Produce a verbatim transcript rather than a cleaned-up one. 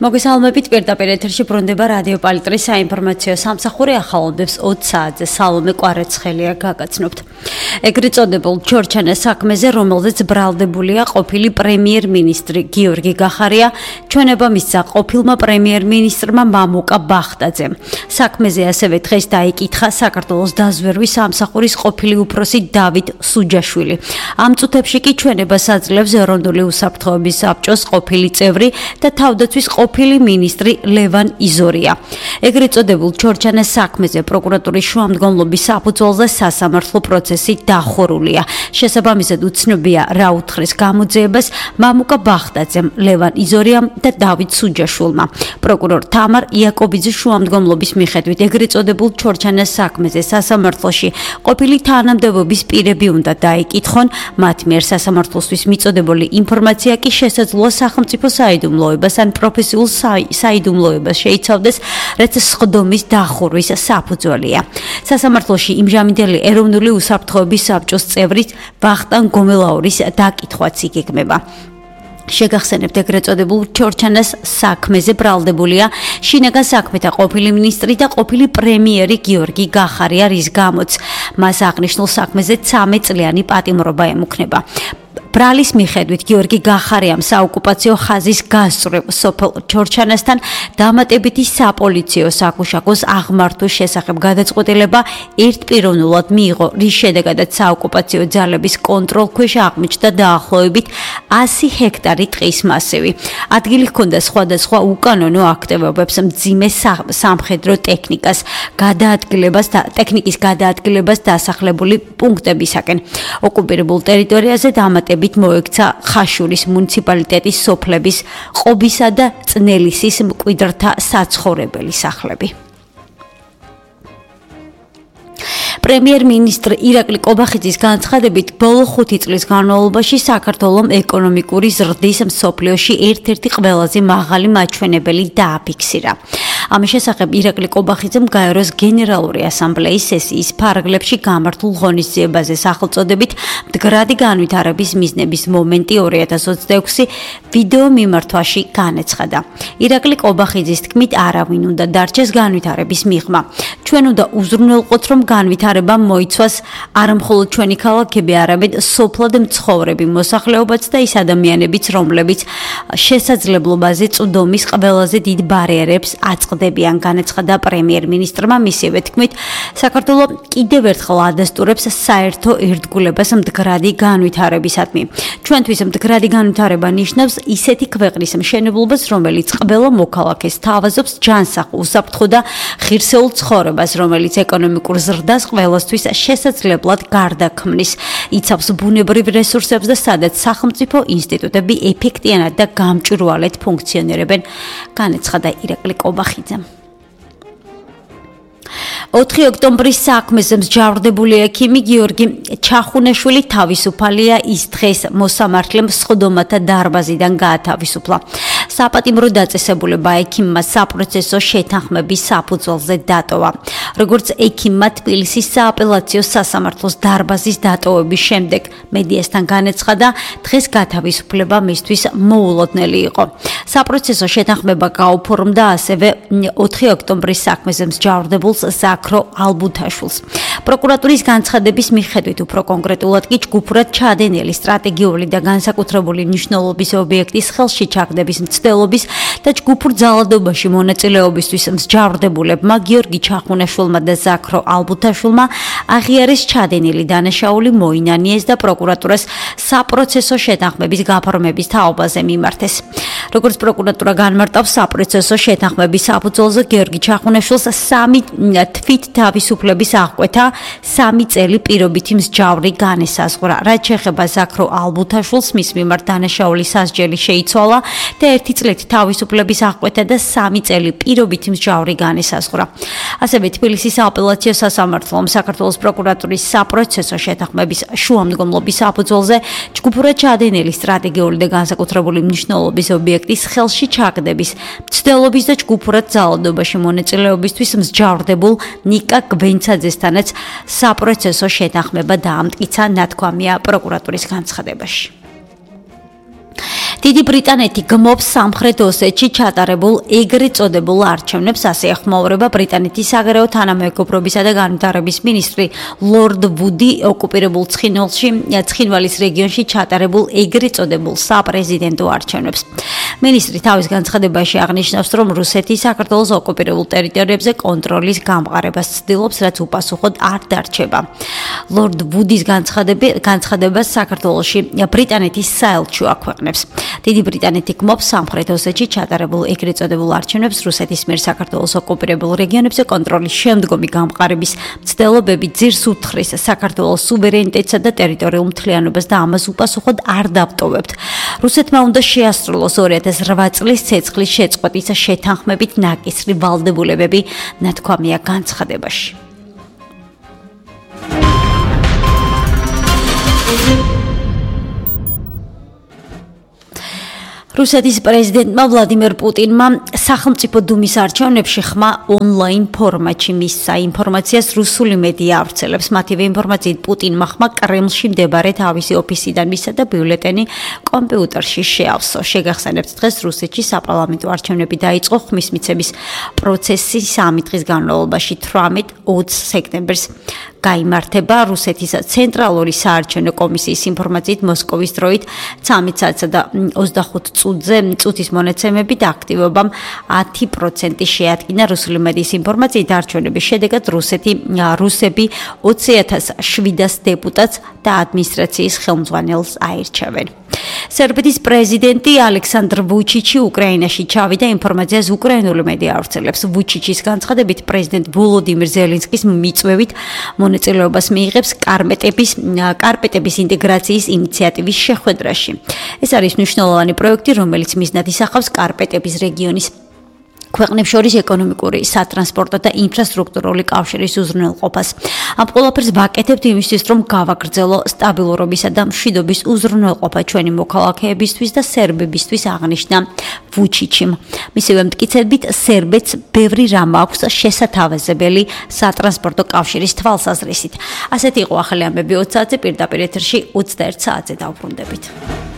მოგესალმებით პირდაპირ ეთერში ბრუნდება რადიო პალიტრის საინფორმაციო სამსახური ახალოდებს ოცი საათზე სალომე კვარეცხელია გაგაცნობთ. ეგრეთ წოდებულ ჩორჩანეს საქმეზე, რომელზეც ბრალდებულია ყოფილი პრემიერ-მინისტრი გიორგი გახარია, ჩვენება მისცა ყოფილმა პრემიერ-მინისტრმა მამუკა ბახტაძემ. საქმეზე ასევე დღეს დაიკითხა საქართველოს დაზვერვის სამსახურის ყოფილი უფროსი დავით სუჯაშვილი. ამ წუთებში კი ჩვენებას აძლევს ეროვნული უსაფრთხოების საბჭოს ყოფილი წევრი და თავდაცვის ყოფილი მინისტრი ლევან იზორია. ეგრეთ წოდებულ ჩორჩანეს საქმეზე პროკურატურის შუამდგომლობის საფუძველზე სასამართლო პროცესი დახურულია. შესაბამისად უცნობია რა უთხრეს გამოძიებას მამუკა ბახტაძემ, ლევან იზორიამ და დავით სუჯაშვილმა. პროკურორ თამარ იაკობიძის შუამდგომლობის მიხედვით ეგრეთ წოდებულ ჩორჩანეს საქმეზე სასამართლოში ყოფილი თანამდებობის პირები უნდა დაიკითხონ, მათ მიერ სასამართლოსთვის მიწოდებული ინფორმაცია კი შესაძლოა სახელმწიფო საიდუმლოებას ან პროფესიულ საიდუმლოებას შეიცავდეს, რაც სხდომის დახურვის საფუძველია. სასამართლოში იმჟამინდელი ეროვნული უსაფრთხოების საბჭოს წევრის ვახტანგ გომელაურის დაკითხვაც იგეგმება. შეგახსენებთ ეგრეთ წოდებულ ჩორჩანას საქმეზე ბრალდებულია შინაგან საქმეთა ყოფილი მინისტრი და ყოფილი პრემიერი გიორგი გახარია, რის გამოც მას აღნიშნულ საქმეზე ცამეტ წლიანი პატიმრობა ემუქნება. ბრალის მიხედვით გიორგი გახარიამ საოკუპაციო ხაზის გასწვრივ სოფელ ჩორჩანასთან დამატებითი საპოლიციო საკუშაკოს აღმართვის შესახებ გადაწყვეტილება ერთპიროვნულად მიიღო, რის შედეგადაც საოკუპაციო ძალების კონტროლქვეშ აღმოჩნდა დაახლოებით ასი ჰექტარი ტყის მასივი. ადგილი ჰქონდა სხვადასხვა უკანონო აქტივობებს, მძიმე სამხედრო ტექნიკას გადაადგილებას და ტექნიკის გადაადგილებას დასახლებული პუნქტებისაკენ. ოკუპირებულ ტერიტორიაზე დამატებით მოექცა ხაშურის მუნიციპალიტეტის სოფლების ყობისა და წნელისის მკვიდრთა საცხოვრებელი სახლები. პრემიერ-მინისტრი ირაკლი კობახიძის განცხადებით, ბოლო ხუთი წლის განმავლობაში საქართველოს ეკონომიკური ზრდის მსოფლიოში ერთ-ერთი ყველაზე მაღალი მაჩვენებელი დააფიქსირა. ამის შესახებ ირაკლი კობახიძემ გაეროს გენერალური ასამბლეის სესიის ფარგლებში გამართულ ღონისძიებაზე სახელწოდებით მდგრადი განვითარების მიზნების მომენტი ორი ათას ოცდაექვსი ვიდეო მიმართვაში განეცხადა. ირაკლი კობახიძის თქმით, არავინ უნდა დარჩეს განვითარების მიღმა. ჩვენ უნდა უზრუნველყოთ, რომ განვითარება მოიცვას არამხოლოდ ჩვენი ქალაქები, არამედ სოფლად მცხოვრები მოსახლეობაც და ის ადამიანებიც, რომლებიც შესაძლებლობაზე წვდომის ყველაზე დიდ ბარიერებს აწყდებიან, განეცხადა პრემიერ-მინისტრმა. მისივე თქმით, საქართველოს კიდევ ერთხელ ადასტურებს საერთო ერთგულებას მდგრადი განვითარებისადმი. ჩვენთვის მდგრადი განვითარება ნიშნავს ისეთი ქვეყნის მშენებლობას, რომელიც ყველა მოქალაქეს თავაზობს ჯანსაღ, უსაფრთხო და ღირსეულ ცხოვრებას, რომელიც ეკონომიკურ ზრდას ყველასთვის შესაძლებლად გარდაქმნის, იცავს ბუნებრივ რესურსებს და სადაც სახელმწიფო ინსტიტუტები ეფექტიანად და გამჭვირვალედ ფუნქციონირებენ, განეცხადა ირაკლი კობახიძემ. ოთხი ოქტომბრის საქმეზე მსჯავრდებული ექიმი გიორგი ჩახუნაშვილი თავისუფალია, ის დღეს მოსამართლემ სხდომათა დარბაზიდან გაათავისუფლა. საპატიმრო დაწესებულება ექიმმა საპროცესო შეთანხმების საფუძველზე დატოვა. როგორც ექიმმა თბილისის სააპელაციო სასამართლოს დარბაზის დატოვების შემდეგ მედიასთან განეცხადა, დღეს გათავისუფლება მისთვის მოულოდნელი იყო. საპროცესო შეთანხმება გაუფორმდა ასევე ოთხი ოქტომბრის საქმეზე მსჯავრდებულს ზაქრო ალბუთაშვილს. პროკურატურის განცხადების მიხედვით, უფრო კონკრეტულად კი ჯგუფურად ჩადენილი სტრატეგიული და განსაკუთრებული მნიშვნელობის ობიექტის ხელში ჩაგდების მცდელობის და ჯგუფურ ძალადობაში მონაწილეობისთვის მსჯავრდებულებმა გიორგი ჩახუნაშვილმა და ზაქრო ალბუთაშვილმა აღიარეს ჩადენილი დანაშაული, მოინანიეს და პროკურატურას საპროცესო შეთანხმების გაფორმების თაობაზე მიმართეს. როგორც პროკურატურა განმარტავს, საპროცესო შეთანხმების საფუძველზე გიორგი ჩახუნაშვილს სამი თვით თავისუფლების აღკვეთა, სამი წელი პირობითი მსჯავრი განესაზღვრა. რაც შეეხება ზაქრო ალბუთაშვილს, მის მიმართ დანაშაული სასჯელი შეიცვალა და ერთი წლით თავისუფლების აღკვეთა და სამი წელი პირობითი მსჯავრი განესაზღვრა. ასევე თბილისის სააპელაციო სასამართლომ საქართველოს პროკურატურის საპროცესო შეთანხმების შუამდგომლობის საფუძველზე ჯგუფურად ჩადენილი სტრატეგიული და განსაკუთრებული მნიშვნელობის ობიექტის ხელში ჩაგდების, მცდელობის და ჯგუფურად ძალადობაში მონაწილეობისთვის მსჯავრდებულ ნიკა გვენცაძესთანაც საპროცესო შეთანხმება დაამტკიცა, ნათქვამია პროკურატურის განცხადებაში. დიდი ბრიტანეთი გმობს სამხრეთ ოსეთში ჩატარებულ ეგრეთ წოდებულ არჩევნებს, ასე ეხმაურება ბრიტანეთის საგარეო თანამეგობრობისა და განვითარების მინისტრი ლორდ ვუდი ოკუპირებულ ცხინვალში, ცხინვალის რეგიონში ჩატარებულ ეგრეთ წოდებულ საპრეზიდენტო არჩევნებს. მინისტრი თავის განცხადებაში აღნიშნავს, რომ რუსეთი საქართველოს ოკუპირებულ ტერიტორიებზე კონტროლის გამყარებას ცდილობს, რაც უპასუხოდ არ დარჩება. ლორდ ვუდის განცხადებას საქართველოში ბრიტანეთის საელჩო აქვეყნებს. დიდი ბრიტანეთი გმობს სამხრეთ ოსეთში ჩატარებულ ეგრეთ წოდებულ არჩევნებს, რუსეთის მიერ საქართველოს ოკუპირებულ რეგიონებზე კონტროლის შემდგომი გამყარების მცდელობები ძირს უთხრის საქართველოს სუვერენიტეტსა და ტერიტორიულ მთლიანობას და ამას უპასუხოდ არ დავტოვებთ. რუსეთმა უნდა შეასრულოს ორი ათას რვა წლის ცეცხლის შეწყვეტის შეთანხმებით ნაკისრი ვალდებულებები, ნათქვამია განცხადებაში. რუსეთის პრეზიდენტმა ვლადიმერ პუტინმა სახელმწიფო დუმის არჩევნებში ხმა ონლაინ ფორმატში მისცა. ინფორმაციას რუსული მედია ავრცელებს. მათივე ინფორმაციით პუტინმა ხმა კრემლში მდებარე თავისი ოფისიდან მისცა და ბიულეტენი კომპიუტერში შეავსო. შეგახსენებთ, დღეს რუსეთში საპარლამენტო არჩევნები დაიწყო. ხმის მიცემის პროცესი სამი დღის განმავლობაში თვრამეტ ოცს სექტემბერს გაიმართება. რუსეთის ცენტრალური საარჩევნო კომისიის ინფორმაციით მოსკოვის დროით ცამეტ საათსა და ოცდახუთ წუთზე წუთის მონაცემებით აქტივობამ ათი პროცენტი შეადგინა. რუსული მედიის ინფორმაციით არჩევნების შედეგად რუსეთი რუსები ოცი ათას შვიდას დეპუტატს და ადმინისტრაციის ხელმძღვანელს აირჩევენ. სერბეთის პრეზიდენტი ალექსანდრ ვუჩიჩი უკრაინაში ჩავიდა. ინფორმაციას უკრაინული მედია ავრცელებს. ვუჩიჩის განცხადებით, პრეზიდენტ ვოლოდიმირ ზელენსკის მიწვევით მონაწილეობას მიიღებს კარპეტების კარპეტების ინტეგრაციის ინიციატივის შეხვედრაში. ეს არის მნიშვნელოვანი პროექტი, რომელიც მიზნად ისახავს კარპეტების რეგიონის ქვეყნებს შორის ეკონომიკური, სატრანსპორტო და ინფრასტრუქტურული კავშირის უზრუნველყოფას. ამ ყველაფერს ვაკეთებთ იმისთვის, რომ გავაგრძელო სტაბილურობისა და მშვიდობის უზრუნველყოფა ჩვენი მოქალაქეებისთვის და სერბებისთვის, აღნიშნა ვუჩიჩიმ. მისივე მტკიცებით, სერბეთს ბევრი რამ აქვს შესათავაზებელი სატრანსპორტო კავშირის თვალსაზრისით. ასეთი იყო ახალი ამბები ოც საათზე, პირდაპირ ეთერში ოცდაერთ საათზე დავბრუნდებით.